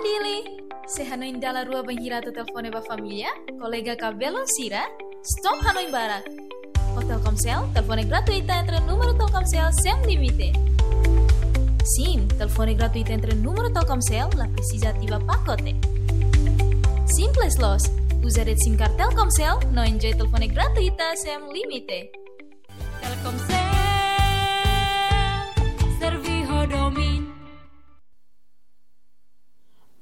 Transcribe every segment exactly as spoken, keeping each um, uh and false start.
Dili, se hanoin dala rua bainhira atu telefone ba família, kolega ka belun sira, stop hanoin barak. Ho Telkomsel, telefone gratuita entre númeru Telkomsel sem limite. Sim, telefone gratuita entre númeru Telkomsel, la presiza ativa pakote. Simples loos, uza de'it SIM card Telkomsel, no enjoy telefone gratuita sem limite. Telkomsel, servi ho domin.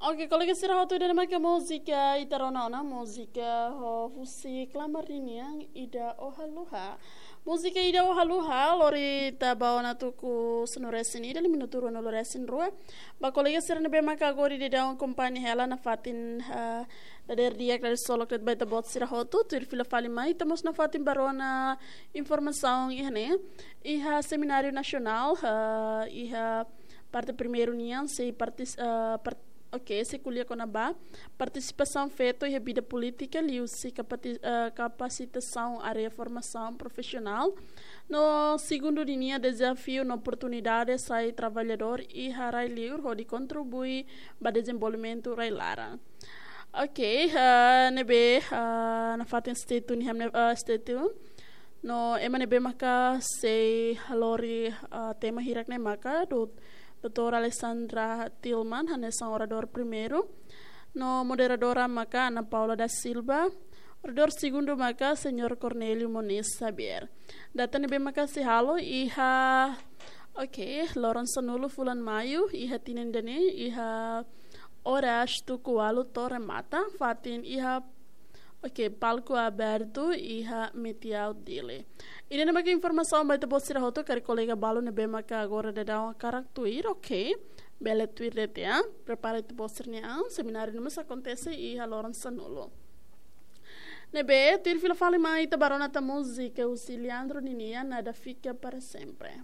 Oke, kolega sira hotu, ida-ne'e maka múzika ita rona ona, múzika ho husi Klamar ninian, Ida Ó Haluha. Múzika Ida Ó Haluha, lori ita ba ona tuku sanulu-resin-ida, liu minutu ruanulu-resin-rua. Ba kolega sira ne'ebé maka agora daudaun akompaña hela nafatin, ah, dadeer di'ak, dadeer solok de'it ba ita-boot sira hotu, tuir fila fali mai, ita mós nafatin ba rona informasaun iha ne'e. Iha semináriu nasionál, ah, iha parte primeiru nian, sei partis-, ah, part-, oke, sei ko'alia kona-ba partisipasaun feto iha vida polítika, liuhusi kapati-, ah, kapasitasaun área formasaun profisionál. No segundu ninia, dezafiu no oportunidade sai traballadór iha rai-li'ur hodi kontribui ba dezenvolvimentu rai-laran. Oke, ah, ne'ebé, ah, nafatin stay tune iha ne'e, ah, stay tune. No ema ne'ebé maka sei halori, ah, tema hirak ne'e maka, do-, doutora Alessandra Tillman, hanesan oradór primeiru. No moderadora maka Ana Paula da Silva. Oradór segundu maka Señór Cornélio Moniz Xavier. Data ne'ebé maka sei halo iha, oke, loron sanulu fulan Maiu, iha tinan ida-ne'e, iha oras tuku ualu to'o remata, fatin iha, oke, palku abertu iha Metiau Dili. Ida-ne'e maka informasaun ba ita-boot sira hotu, karik kolega balu ne'ebé maka agora daudaun hakarak tuir, oke, bele tuir de'it, ya. Prepara ita-boot sira-nia an, semináriu ne'e mós akontese iha loron sanulu. Ne'ebé, tuir fila fali mai ita ba rona tan múzika husi Leandro ninian, Nada Fica Para Sempre.